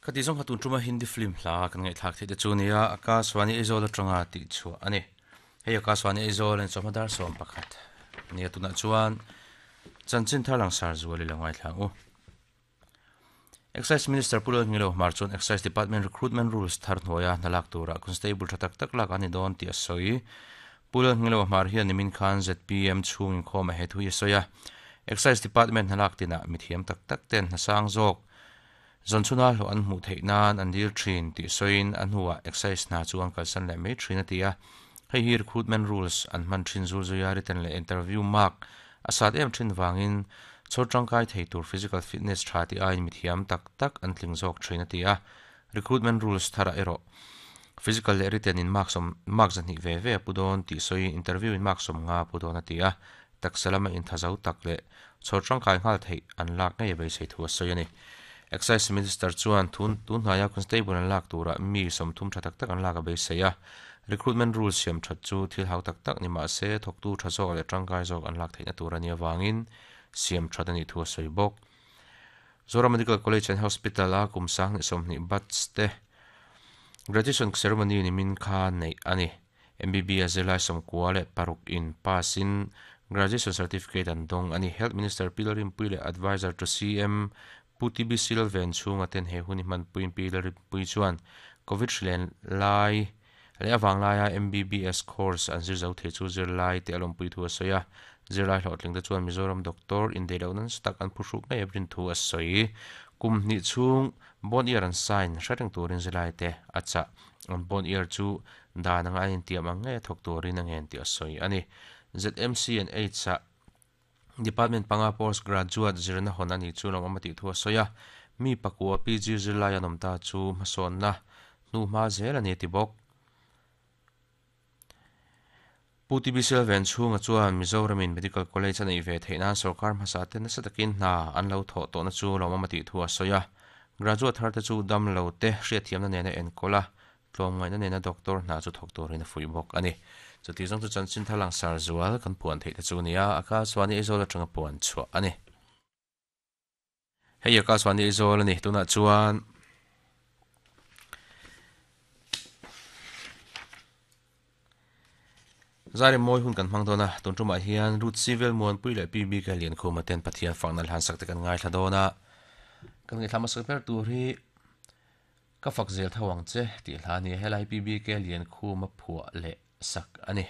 Khati zawng kha tun tuma Hindi film hla kan ngaihthlak theih te chu nia Akashvani Aizawl atanga tih chhuah a ni. Hei Akashvani Aizawl in chawhma dar 11 nia tunah chuan chanchin thar langsar zual i lo ngaithla ang u. Excise Minister Pu Lalngilo Hmar chuan Excise Department Recruitment Rules thar hnuaia hna lak turah Constable tha tak tak lak a ni dawn tih a sawi. Pu Lalngilo Hmar hian nimin khan zpm chhung inkhawm a he thu hi a sawi a. Excise Department hna lak tinah mithiam tak tak ten hna sang zawk zawnchhuna hlawh an hmuh theih nan an dil thin tih sawiin a hnuah Excise hna chu an kalsan leh mai thin a ti a. Hei hi Recruitment Rules an hman thin zul zuia written leh interview mark A sat em thin vangin chhawr tangkai thei tur physical fitness tha tih aiin mithiam tak tak an tling zawk thin a ti a. Recruitment rules tharah erawh physical leh written in mark sawm mark zahnih ve ve a pu dawn tih sawiin interview in mark sawm nga a pu dawn a ti a. Taksa lama intha zo tak leh chhawr tangkai nghal theih an lak ngei a beisei thu a sawi a ni. Excise Minister chuan tun hnaia constable an lak turah mi 30 tha tak tak an lak a beisei a. Recruitment rules siam that chu thil hau tak tak ni mah se, thawktu tha zawk leh tangkai zawk an lak theihna tur a nih avangin siam that a nih thu a sawi bawk. Zoram Medical College and Hospital a kum 2020 batch te graduation ceremony nimin kha neih a ni. MBBS zirlai 96 in pass in graduation certificate an dawng a ni. Health Minister Pi Lalrinpuii leh Advisor to CM Pu TB Silven chhunga ten he hun hi hmanpuiin Pi Lalrinpuii chuan Covid hrilen lai leh a vanglaia MBBS course an zir zo thei chu zirlai te a lawmpui thu a sawi a. Zirlai hlawhtling te chuan Mizoram doctor indeih loh nasa tak an phuhruk ngei a rin thu a sawi. Kum hnih chhung bond year an sign hre reng turin zirlai te a chah. An bond year chu dan anga an intiam ang ngei a thawk turin a ngen tih a sawi a ni. ZMC and Aids ah Department panga post graduate zirna hawn a nih chu lawmawm a tih thu a sawi a, mi pakua PG zirlai an awm ta chu hmasawnna hnuhma zel a ni a ti bawk. Pu TB Silven chhunga chuan Mizoramin Medical College a neih ve theih nan sorkar hmasa te nasa takin hna an lo thawh tawhna chu lawmawm a tih thu a sawi a, graduate thar te chu dam lo te hriatthiamna nena enkawl a, Tlawmngaihna nena doctor hna chu thawk turin a fuih bawk a ni. Chuti zawng chu chanchin thar langsar zual kan puan theih te chu a ni a, a kal chuan i Aizawl atanga puan chhuah a ni. Hei a kal chuan i Aizawl a ni. Tunah chuan Zai mawi hun kan hmang dawn a, tun tumah hian Ruth Civil Muanpui leh Pi Bika Liankhuma ten Pathian fakna hlan sak te kan ngaithla dawn a. Kan ngaithla hmasa ber tur hi Ka fak zel tho ang che tih hla a ni. Helai PBK Liankhuma phuah leh sak a ni.